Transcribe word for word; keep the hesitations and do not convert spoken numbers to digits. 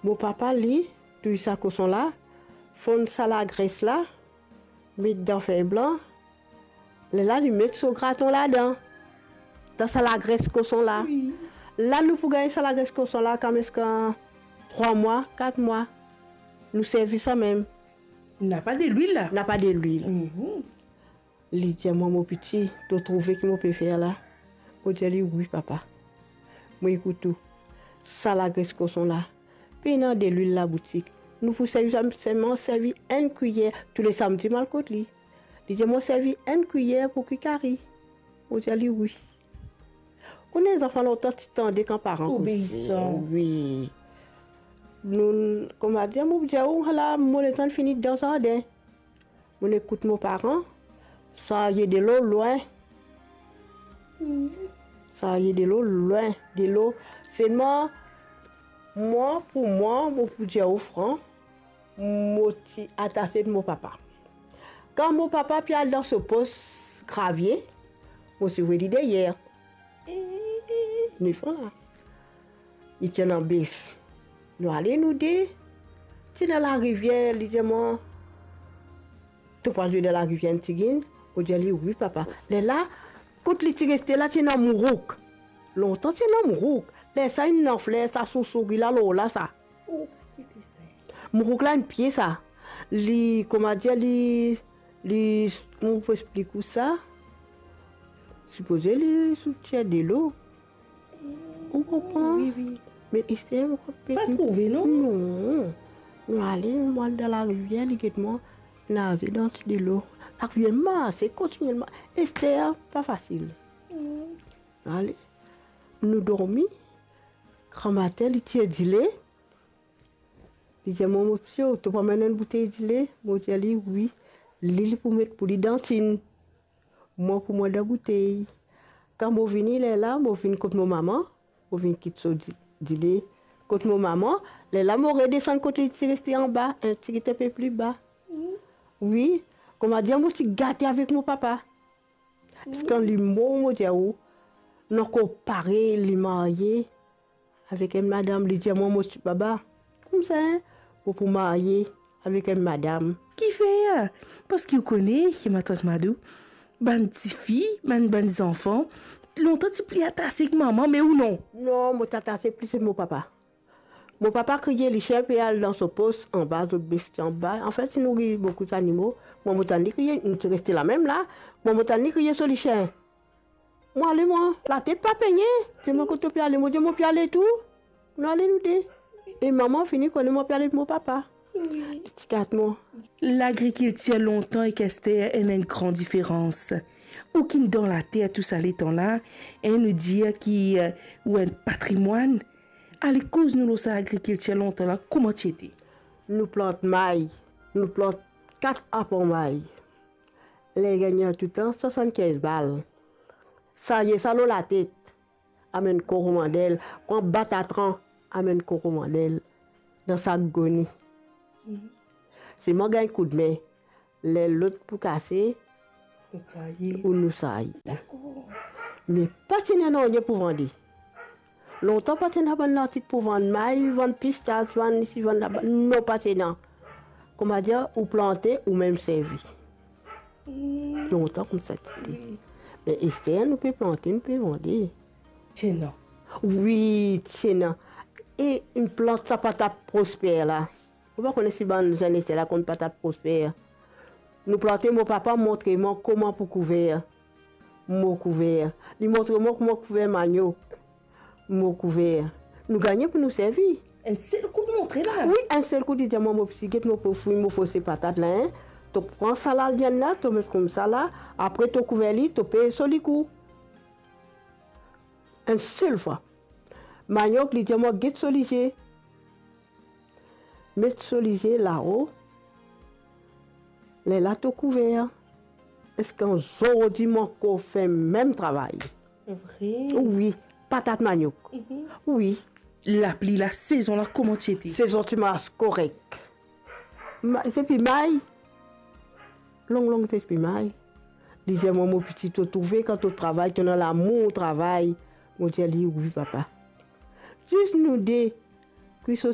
Mo papa, li, touy sa koson la, fonn sa lagres la, met dan fer blan, lerla li met so graton ladan, dan sa lagres koson la. Wi. La nou pou gagn sa lagres koson la, kameska trwa mwa, kat mwa. Nou servi sa mem. Napa delwil la? Napa delwil. Mhm. Li dir mwa, "Mo piti, to trouve ki mo pe fer la?" Mo dir li, "Wi, papa." Mo ekout ou. Sa lagres koson la, pena delwil laboutik. Nou pou servi, selman servi enn kwiyer. Tou le samdi, mo al kot li. Li dir mwa, "Servi enn kwiyer pou kwi kari." Mo dir li, "Wi." Kone zanfan lontan ti tande kan paran koze. Obeisan. Wi. Nou, kouma dir, mo dir ou, la, mo letan fini dan zardin. Mo ekout mo paran, sarye delo lwin. Sarye delo lwin, delo. Selman, mwa pou mwa, mo pou dir ou fran, mo ti atase ek mo papa. Kan mo papa pe al dan so pos gravie, mo ti voy li deryer. Nef an la. Li ti ena bef. Nou ale nou de. Ti ena larivier, li dir mwa, "To pou al zwe dan larivier enn tigit?" Mo dir li, "Wi, papa." Lerla, kot li ti reste la, ti ena mourouk. Lontan ti ena mourouk. Ler sa inn anfle, sa sousouri la, lor la sa. Ou pa kite sa. Mourouk la enn pie sa. Li, kouma dir, li, li, kouma pou explik ou sa? Sipoze li sou tir delo. Ou konpran? Wi, wi. Me Ester, mo konpran. Pa trouve, non? Non. Nou ale, mo al dan larivier, li get mwa naze dan ti delo. Larivier marse, kontinie marse. Ester, pa fasil. Mm. Ale. Nou dormi. Gramatin, li tir dile. Li dir mwa, "Mo piti, to pou amenn enn boutey dile?" Mo dir li, "Wi." Li, li pou met pou li dan tin. Mwa pou mwa dan boutey. Kan mo vini lerla, mo vinn kot mo mama, mo vinn kit so di-, dile kot mo mama, lerla mo redesann kot li ti reste anba, enn tigit enpe pli ba. Wi, kouma dir mo ti gate avek mo papa. Kan li mor, mo dir ou, nou ankor pare, li marye avek enn madam, li dir mwa, "Mo ti baba, koumsa, mo pou marye avek enn madam." Kifer? Parski ou kone, matant Madou, bann tifi, bann, bann zanfan, lontan ti pli atase ek mama, me ou non? Non, mo ti atase plis ek mo papa. Mo papa kriye, li ti pe al dan so pos anba, zot bef ti anba. Anfin, ti nouri boukou zanimo. Mwa, mo tann li kriye, nou ti reste lamem la. Mwa, mo tann li kriye so lisien. Mo ale mwa, latet pa pegne. Dir mwa, "Kot to pe ale?" Mo dir, "Mo pe ale tou." Nou ale nou de. E mama fini kone mo pe ale mo papa. Wi. Ti kat mwa. Lagrikiltir lontan ek aster ena enn gran diferans. Ou kinn dan later tou sa letan la, e nou dir ki, eh, ou enn patrimwann. Ale koz nou lor sa lagrikiltir lontan la, kouma ti ete? Nou plant may, nou plant kat arpan may. Ler gagn toutan swasannkinz bal. Sarye sa lor latet, amenn koromandel, pran batatran, amenn koromandel dan sak goni. Mhm. Selman gagn koudme, ler lot pou kase, ou nou sarye. Dakor. Me pa ti ena nanye pou vande. Lontan pa ti ena bann lartik pou vann, may vann, pistas vann, isi vann laba, non, pa ti ena. Kouma dir, ou plante, ou mem servi. Mm. Lontan koumsa ti ete. Mm. Me aster, nou pe plante, nou pe vande. Ti ena? Wi, ti ena. E enn plant sa patat prosper la. Mo pa kone si bann zenn aster la konn patat prosper. Nou plante, mo papa montre mwa kouma pou kouver. Mo kouver. Li montre mwa kouma kouver maniok. Mo kouver. Nou gagne pou nou servi. Enn sel kou montre la? Wi, enn sel kou li dir mwa, mo piti, get mo pou fouy, mo fose patat la, en. To pran sa lalyann la, to met koumsa la, apre to kouver li, to pe so likou. Enn sel fwa. Maniok, li dir mwa, get so lizie. Met so lizie lao, lerla to kouver. Eski zordi mo ankor fer mem travay? Vre? Wi, patat maniok. Mhm. Wi. Lapli la, sezon la, kouma ti ete? Sezon ti mars korek. Ma-, depi may, long, long depi may. Li dir mwa, mo piti, to trouve kan to travay, to ena lamour travay. Mo dir li, wi, papa. Zis nou de, kwi so